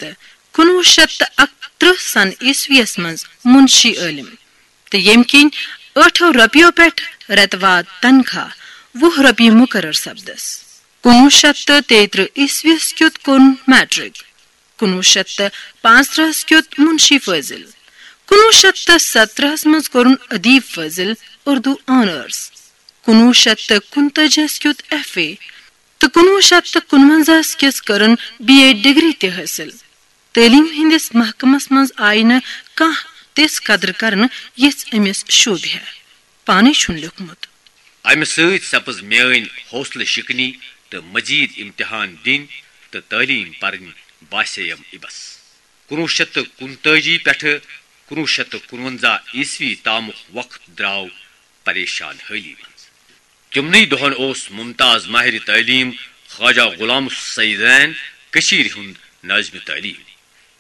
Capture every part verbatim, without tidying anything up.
تہٕ کُنوُہ شیٚتھ تہٕ اَکترٕہ سن عیسویس منٛز منشی عٲلم، تہٕ ییٚمہِ کِنۍ ٲٹھو رۄپیو پٮ۪ٹھ رٮ۪تہٕ واد تنخواہ وُہ رۄپیہِ مُقرر سپدس۔ کُنوُہ شیٚتھ تہٕ تیٚیہِ ترٕٛہ عیسویس کیُت کوٚرُن میٹرک، کُنوُہ شیٚتھ تہٕ پانٛژترٕٛہس کیُت منشی فٲضل، کُنوُہ شیٚتھ تہٕ ستترٕٛہس منٛز کوٚرُن ادیب فٲضل اردو آنرز، کُنوُہ شیٚتھ تہٕ کُنتٲجیس کیُت ایف اے، تہٕ کُنوُہ شیٚتھ تہٕ کُنونزاہس کِس کٔرٕن بی اے ڈگری تہِ حٲصِل۔ تعلیٖم ہٕنٛدِس محکمس منٛز آیہِ نہٕ کانٛہہ تِژھ قدر کرنہٕ، یِژھ أمِس شوٗبہِ ہے۔ پانے چھُن لیوٗکھمُت۔ امہِ سۭتۍ سپٕز میٲنۍ حوصلہٕ شِکنی تہٕ مزید امتحان دِنۍ تہٕ تعلیٖم پرٕنۍ باسییم اِبس۔ کُنوُہ شیٚتھ تہٕ کُنتٲجی پٮ۪ٹھٕ کُنوُہ شیٚتھ تہٕ کُنونزاہ عیسوی تامُک وقت درٛاو پریشان حٲلی منٛز۔ تِمنٕے دۄہن اوس ممتاز ماہر تعلیٖم خواجہ غلام سیدین کٔشیٖرِ ہُنٛد نٲظمِ تعلیٖم،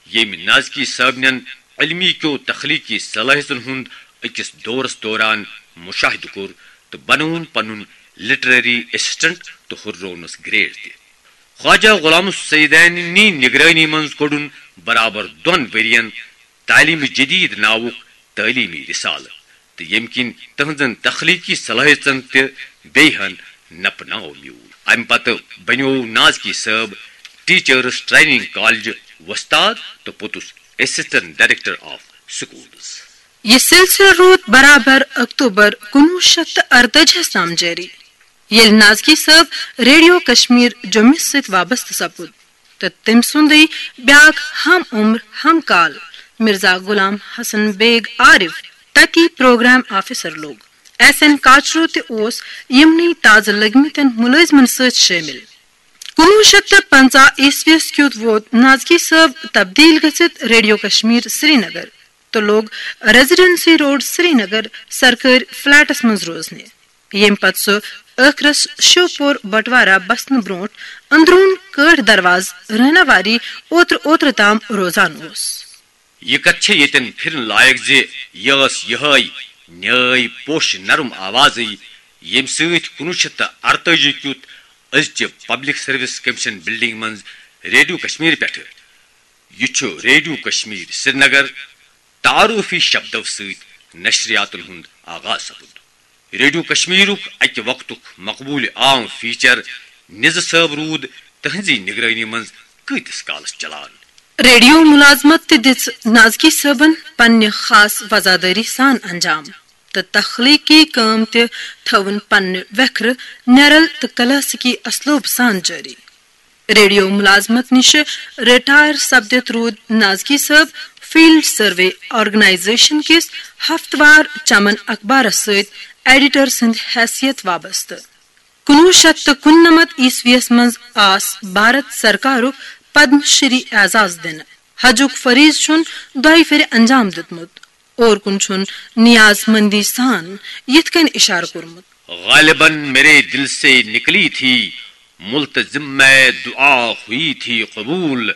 ییٚمۍ نازکی صٲبنٮ۪ن علمی کیو تخلیقی صلٲحیژن ہُنٛد أکِس دورس دوران مشاہدٕ کوٚر تہٕ بنووُن پنُن لٹریری اسسٹنٹ تہٕ ہُرروونس گریڈ تہِ۔ خواجہ غلام سیدینی نگرٲنی منٛز کوٚڑُن برابر دۄن ؤرین تعلیٖم جدید ناوُک تعلیٖمی رسالہٕ، تہٕ ییٚمہِ کِنۍ تہنٛزن تخلیقی صلٲحیژن تہِ بیٚیہِ ہن نپہٕ ناو میوٗل۔ امہِ پتہٕ بنیوو نازکی صٲب ٹیچرس ٹریننگ کالج وۄستاد تہٕ پوٚتُس اسسٹنٹ ڈائریکٹر آف سکولز۔ یہِ سلسلہٕ روٗد برابر اکتوبر کُنوُہ شیٚتھ تہٕ ارتٲجیس تام جٲری، ییٚلہِ نازکی صٲب ریڈیو کشمیر جوٚمِس سۭتۍ وابستہٕ سپُد تہٕ تٔمۍ سُنٛدٕے بیٛاکھ ہم عمر ہم کال مرزا غلام حسن بیگ عارف تتی پروگرام آفیسر لوٚگ۔ ایس این کاچرو تہِ اوس یِمنٕے تازٕ لٔگمٕتٮ۪ن مُلٲزمن سۭتۍ شٲمِل۔ کُنوُہ شیٚتھ تہٕ پنٛژاہ عیسویس کیُتھ ووت نازکی صٲب تبدیل گٔژھِتھ ریڈیو کشمیر سرینگر تہٕ لوٚگ ریزیڈنسی روڈ سرینگر سرکٲرۍ فلیٹس منٛز روزنہِ، ییٚمہِ پتہٕ سُہ ٲخرس شیوپور بٹوارہ بسنہٕ برونٛٹھ اندروٗن کٲٹھۍ دروازٕ رہناواری اوترٕ اوترٕ تام روزان اوس۔ یہِ کتھ چھےٚ ییٚتٮ۪ن پھرن لایق زِ یہِ ٲس یِہے نیٲے پوشہِ نرم آوازٕے، ییٚمہِ سۭتۍ کُنوُہ شیٚتھ تہٕ ارتٲجی کیُتھ أزچہِ پبلک سروس کمیشن بلڈنگ منٛز ریڈیو کشمیر پٮ۪ٹھٕ یہِ چھُ ریڈیو کشمیر سرینگر تعارفی شبدو سۭتۍ نشریاتن ہُنٛد آغاز سپُد۔ ریڈیو کشمیرُک اکہِ وقتُک مقبول عام فیچر نِزٕ صٲب روٗد تہنٛزی نگرٲنی منٛز کۭتِس کالس چلان؟ ریڈیو ملازمت تہِ دِژ نازکی صٲبن پننہِ خاص وزادٲری سان انجام تہٕ تخلیقی کٲم تہِ تھٲوٕن پننہِ ویکھرٕ نیرل تہٕ کلاسیکی اسلوب سان جٲری۔ ریڈیو ملازمت نِشہِ رٹائر سپدِتھ روٗد نازکی صٲب فیلڈ سروے آرگنائزیشن کِس ہفتہٕ وار چمن اخبارس سۭتۍ ایڈیٹر سٕنٛدِ حیثیت وابستہٕ۔ کُنوُہ شیٚتھ تہٕ کُننمتھ عیسویس منٛز آس بھارت سرکارُک پدم شری اعزاز دِنہٕ۔ حجُک فریض چھُن دۄیہِ پھِرِ انجام دیُتمُت۔ اور کُن چھُن نیاز مندی سان یِتھ کٔنۍ اشارٕ کوٚرمُت۔ غالباً میرے دل سے نکلی تھی ملتزم میں، دعا ہوئی تھی قبول،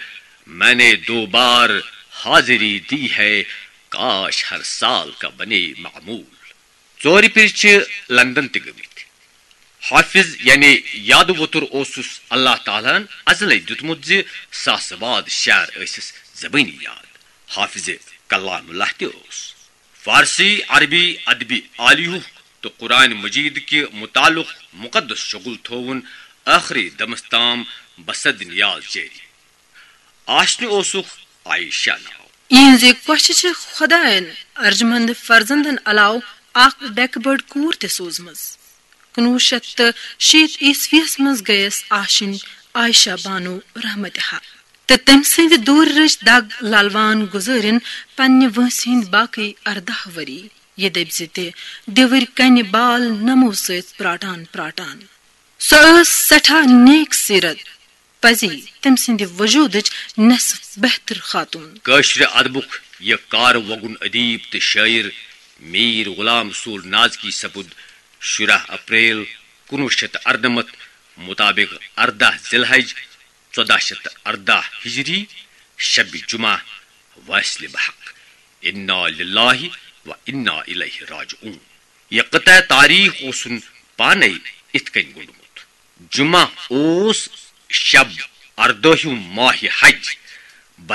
میں نے دو بار حاضری دی ہے، کاش ہر سال کا بنے معمول۔ ژورِ پھِرِ چھِ لندن تہِ گٔمٕتۍ۔ حافظ یعنی یادٕ ووتُر اوسُس اللہ تعالیٰ ہن ازلے دیُتمُت زِ ساسہٕ واد شعر ٲسِس زبٲنی یاد۔ حافظ کلام اللہ تہِ اوس۔ فارسی، عربی، ادبی عالیہُک تہٕ قرآن مجید کہِ متعلق مقدس شغل تھووُن ٲخری دمس تام بصد نیاز جٲری۔ آشنہِ اوسُکھ عائشہ ناو۔ یِہنٛزِ کۄچھِ چھِ خۄدایَن ارجمند فرزندن علاوٕ اکھ ڈیکہٕ بٔڑ کوٗر تہِ سوٗزمٕژ۔ کُنوُہ شیٚتھ تہٕ شیٖتھ عیسویس منٛز گٔیَس آشِنۍ عائشہ بانو رحمتِ حق تہٕ تٔمۍ سٕنٛدِ دوٗرِ رٕچ دگ للوان گُزٲرِن پننہِ وٲنٛسہِ ہٕنٛدۍ باقٕے ارداہ ؤری۔ یہِ دٔپۍ زِ تہِ دِوٕرۍ کنہِ بال نمو سۭتۍ پراٹان پراٹان۔ سۄ ٲس سٮ۪ٹھاہ نیک سیرت، پزی تٔمۍ سٕنٛدِ وجوٗدٕچ نٮ۪صٕف بہتر خاتوٗن۔ کٲشرِ ادبُک یہِ کار وۄگُن ادیب تہٕ شٲعر میر غلام رسول نازکی سپُد شُراہ اپریل کُنوُہ شیٚتھ تہٕ اَرنَمَتھ مُطابق ارداہ ذی الحج ژۄداہ شیٚتھ تہٕ ارداہ ہجری شبِ جمعہ وٲصلِ بحق۔ انا للہ و انا الیہ راجعون۔ یہِ قطعہ تاریخ اوسُن پانے اِتھ کٔنۍ گوٚنڈمُت۔ جمعہ اوس شب اردٲہِم ماہِ حج،